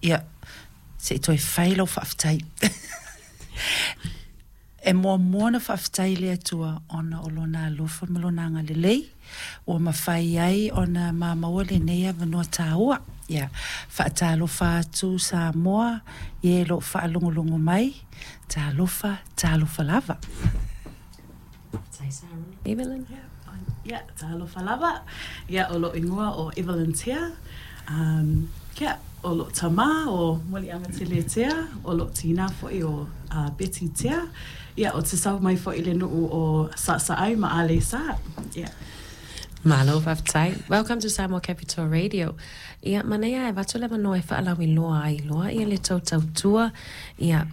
Ia, se i toe fai lau faafetai. E muamua ona faafetai i le Atua ona o Lona alofa ma Lona agalelei ua mafai ai ona ma maua lenei avanoa taua. Ia, faatalofa atu Samoa i e o lo o faalogologo mai, talofa, talofa lava. Evelyn? Ia, talofa lava. Ia, o lou igoa o Evelyn Tea. Ia, o lou tama o Muliagatele Tea, o lou tinā foi o Betty Tea. Ia, ou te sau mai foi i le nuu o Sa'asa'ai ma Aleisa. Ia. Malo faafetai. Welcome to Samoa Capital Radio. Ia, manaia e avatu le avanoa e faalauiloa ai loa ia le tou tautua, ia,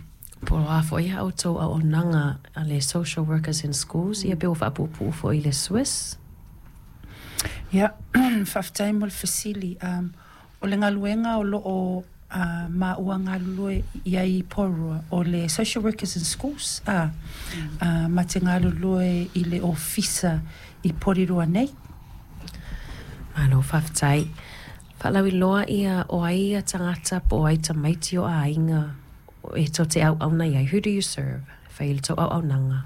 po o a foi a outou auaunaga a le Social Workers in Schools, ia pe ua faapuupuu foi i le SWIS. Ia, faafetai mo le fesili. O le galuega o lo o maua galulue i ai i Porirua, o le Social Workers in Schools, a, ma te galulue i le ofisa i Porirua nei. Malo faafetai. Faalauiloa ia o ai ia tagata po o ai tamaiti o aiga e tou te auauna i ai. Who do you serve? Fai le tou auaunaga.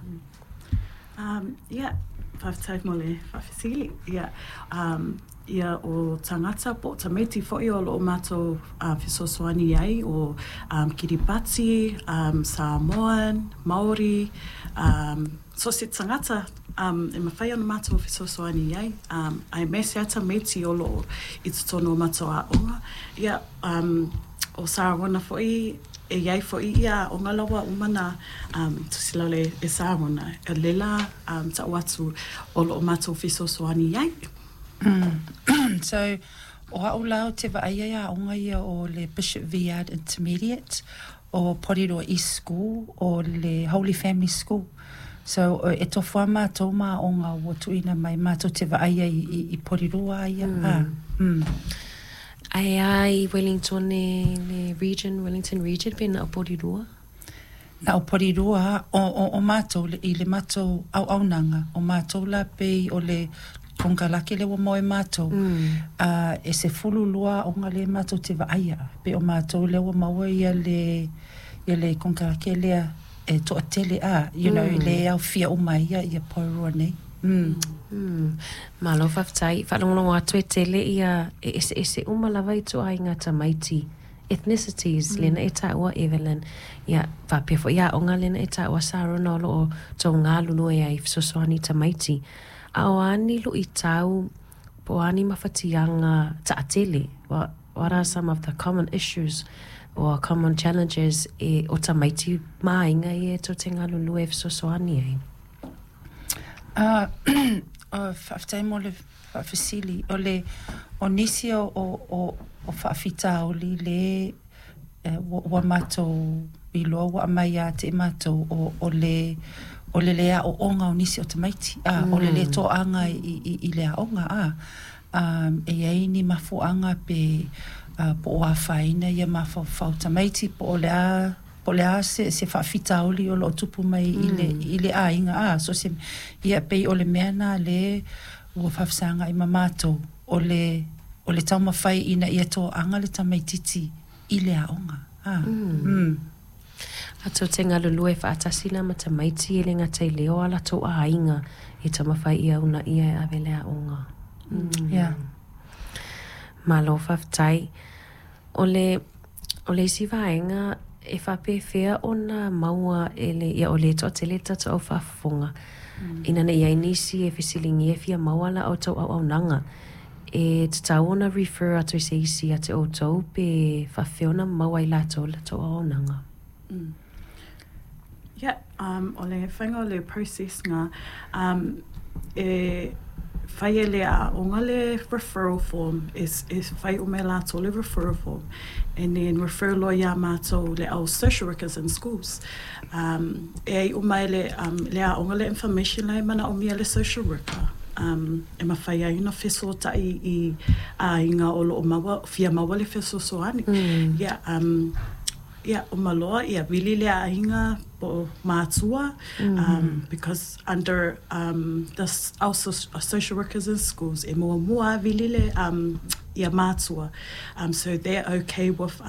Ia, faafetai mo le faafesili. Ia, ia o tagata po o tamaiti foi o lo o matou fesoasoani ai o Kiribati, Samoan, Maori, so o se tagata e mafai ona matou fesoasoani ai, aemaise lava tamaiti o lo o i totonu o matou aoga. Ia, o Sarona foi e i ai foi ia aoga la ua uma ona tusi lalo e Sarona, o lea la ta'u atu o lo o matou fesoasoani ai. So, o au la ou te vaaia i aoga ia o le Bishop Viard Intermediate, o Porirua East School, o le Holy Family School. So, e tofu lava matou ma aoga ua tuuina mai matou te vaaia i Porirua ia. Ae a i Wellington le region, Wellington Region pe na o Porirua? Na o Porirua. O matou i le matou auaunaga, o matou la pei o le konekarate lea ua maua e matou, e 12 aoga lea matou te vaaia. Pei o matou lea ua maua ia le konekarate lea e toatele a, le aofia uma ai ia Porirua nei. Malo faafetai. Faalogologo atu e tele ia e eseese uma lava i ituaiga tamaiti, ethnicities, lena e taua Evelyn. Ia, faapea foi aoga lena e taua Sarona o lo o tou galulue ai fesoasoani tamaiti. A o a ni luitau po o a ni mafatiaga taatele? What are some of the common issues or common challenges e o tamaiti ma aiga ia e tou te galulue fesoasoani ai? Faafetai mo le faafesili. O le o nisi o faafitauli le ua matou iloa ua aumai ia te i matou o le le aooga o nisi o tamaiti, o le le toaga i le aoga a. E i ai ni mafuaaga pe po o afaina ia mafaufau tamaiti po o le a se faafitauli o lo o tupu mai i le aiga a. So se ia pei o le mea na le ua faafesagai ma matou o le taumafai ina ia toaga le tamaititi i le aoga a. A tou te galulue faatasi la ma tamaiti e le gata i lea o a latou aiga e taumafai ia uunaia e ave le aoga. Yeah. Malo faafetai. O le isi vaega e faapefea ona maua e le ia o le toatele le tatou au faafofoga ina ne i ai nisi e fesiligia e fia maua la outou auaunaga e tatau ona refer atu i se isi ia te outou pe faapefea ona maua ai latou le tou auaunaga? Yeah, o le faiga o le process nga, e fai e le aoga le referral form, e fai uma e latou le referral form, and then refer loa iā matou le au social workers in schools. E ai uma e le aoga le information la e manaomia le social worker. E mafai ai ona fesoatai i aiga o lo o maua, fia maua le fesoasoani. Yeah, ia, uma loa, ia, vili le aiga po o matua, because under our social workers in schools, e muamua vili le ia matua. So they're okay with